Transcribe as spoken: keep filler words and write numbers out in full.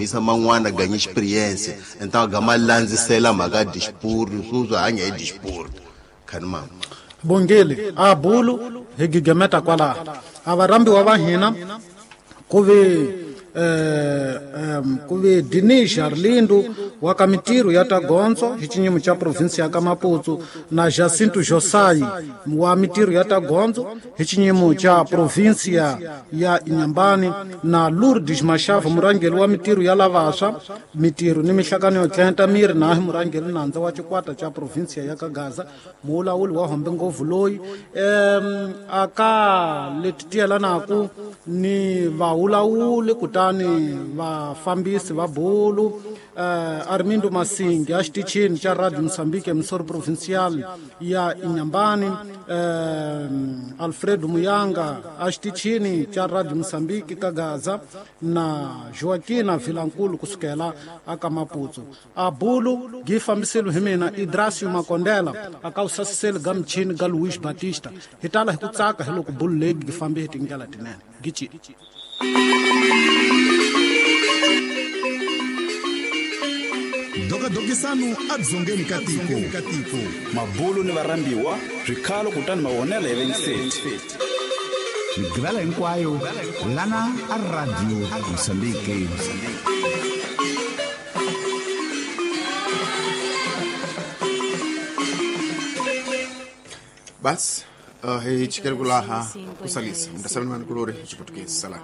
Isa man'wana ganha experience então gama landzisela mhaka disport sweswi hanya hi disport khani mama bongele a bulu hi gigemeta kwalaho a varhambiwa va hina ku ve eh um ku ve Dinis Arlindo wa ka mitirho ya ta gondzo hi xinyimo xa province ya ka Maputo na Jacinto Josai wa mitirho ya ta gondzo hi xinyimo xa province ya ya Inhambane na Lourdes Mashava murhangeri wa mitirho ya lavaswa mitirho ni mihlakano yo tlenta miri na murhangeri nandza wa xikwata xa province ya ka Gaza mulawuli wa hombe ngopfu loyi em aka leti tiyelanaku ni vaulawuli kutani vafambisi va bulu eh, Armindo Masingi a xitichini xa Radio Mozambique Missouri Provincial ya Inhambane eh, Alfredo Muyanga a xitichini xa Radio Mozambique ka Gaza na Joaquina Vilankulu kusukela aka Maputo a bulu gi fambiselo hi mina Idrasio Makondela aka usasiseli ga michini ga Luis Batista hi tala hi ku tsaka hi loko bulu leyi gi fambe hi tindlela tinene gichi Dokadokisano adzongeni ka tiko mabulu ni varhambiwa swikhalo kutani mavonelo ya vengiseti migivela hinkwayo lana a Radio Mozambique. Basi uh, hi chikele kulaha kusalisa mndasamini kulori chiputukezi salaka.